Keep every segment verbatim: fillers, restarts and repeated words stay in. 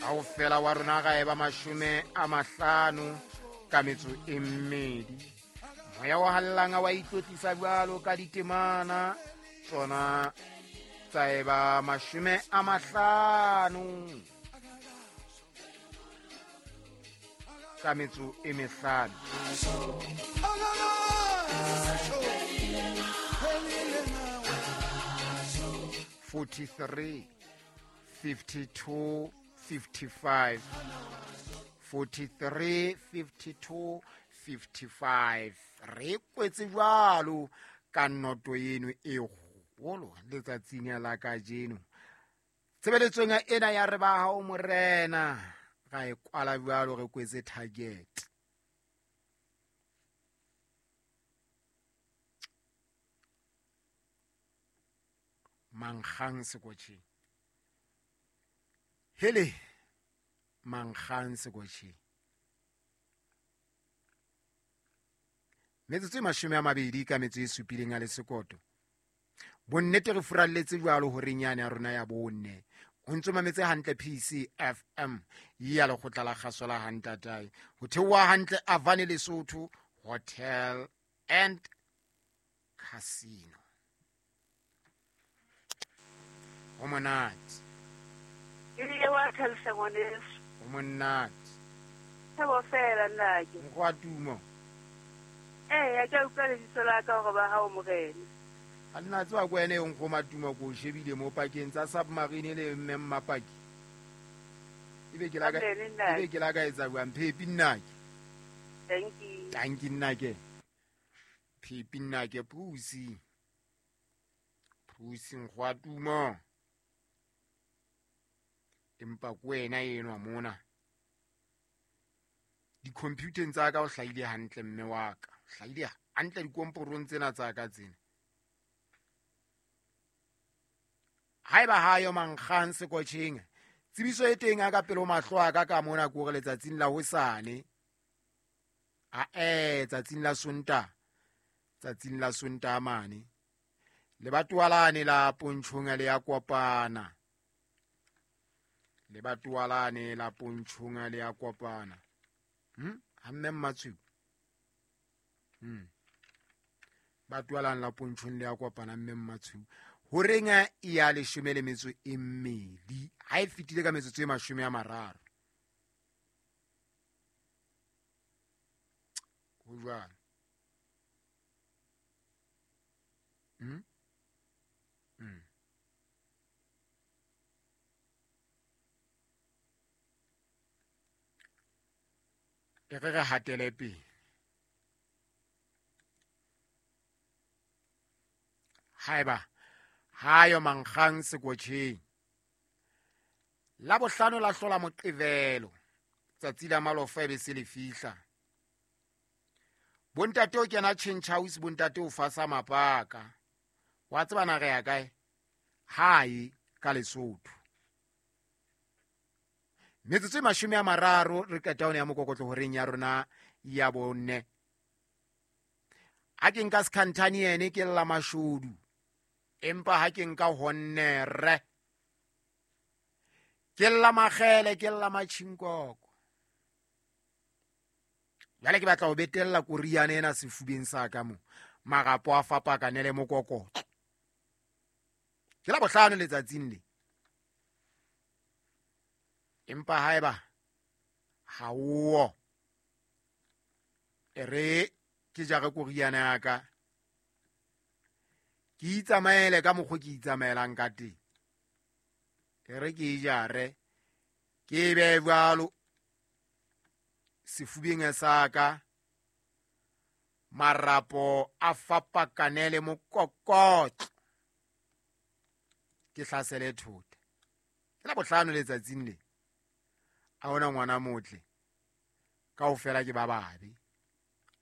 Kaofela wa rona ga eba mashome a mahlano ka metso e mmedi. Moya wa hallang wa itlotlisa jwalo ka ditemana tsona tsa eba mashome a mahlano ka metso e mehlano. forty-three fifty-two fifty-five forty-three fifty-two fifty-five. Re kwetse jwalo ka noto eno e kgolo letsatsing la kajeno. Tshebeletsong ena ya re ba hao morena ga e kwala jwalo re kwetse target. Mankgang sekotjheng. Hele mankgang sekotjheng. Metsotso e mashome a mabedi ka metso e supileng a le sekoto. Bonnete re furalletse jwalo horeng yane ya rona ya bonne. O ntso mametse hantle P C F M ya lekgotla la kgaso la Hantatae. Ho theoha hantle Avane Lesotho Hotel and Casino. Ho monate. Ebile wa thabisa ngwaneso. Ho monate. Thabo fela nnake. Nkgwa tumo. Eh, ke a utlwa lebitso la ka hore ba hao morena. A nna tswa ko ene eng go matuma ko shebile mo pakeng tsa submarine le mme mmapaki. Ebe ke la ka ebe ke la ka etsa jwang phepi nnake. Thank you. Thank you nnake. Phepi nnake pusi. Pusi nkgwa tumo. Empa ko wena enwa mona. Di-computeng tsa ka o hlahile hantle mme wa ka. Hlahile hantle dikomporong tsena tsa ka tsena. Haeba hayo mankgang sekotjheng. Tsebiso e teng a ka pele ho mahlo a ka ka mona ke hore letsatsing la hosane. A eh tsatsing la Sontaha. Tsatsing la Sontaha mane. Lebatowa lane la Pontshong le ya kopana. Lebatowa lane la Pontshong le ya kopana. Hm? Ha mme Mmatshweu. Hm. Batowa lane la Pontshong le ya kopana mme Mmatshweu. Horeng e ya leshome le metso e mmedi. Ha e fetile ka metsotso e mashome a mararo. Ho jwalo. Hm? Hm. E re re hatele pele. Haeba hayo mankgang sekotjheng. La bohlano la hlola Moqebelo. Tsatsi la malofa e be se le fihla. Bontate o kena change house, bontate o fasa mapaka. Wa tseba na re ya kae? Hae ka Lesotho. Metsotso e mashome a mararo re qeta hona ya mokokotlo horeng ya rona ya bonne. Ha ke nka Skhantane ene ke lla mashodu. Empa ha ke nka honnere. Ke lla makgele, ke lla matjhinkoko. Jwale ke batla ho betella koriana ena sefubeng sa ka mo. Marapo a fapakane le mokokotlo. Ke la bohlano letsatsing le. Empa haeba ha o e re ke jare koriana ya ka. Ke itsamaele ka mokgwa ke itsamaelang ka teng. E re ke jare ke be jwalo sefubeng sa ka. Marapo a fapakane le mokokotlo. Ke hlasele thota. Ke la bohlano letsatsing le. Ha hona ngwana motle. Kaofela ke ba babe.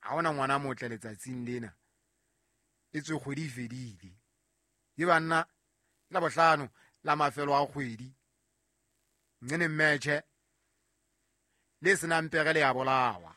Ha hona ngwana motle letsatsing lena. E tswe kgwedi e fedile. Ke banna la bohlano la mafelo a kgwedi. Nne mmetjhe le senang pere le ya bolawa.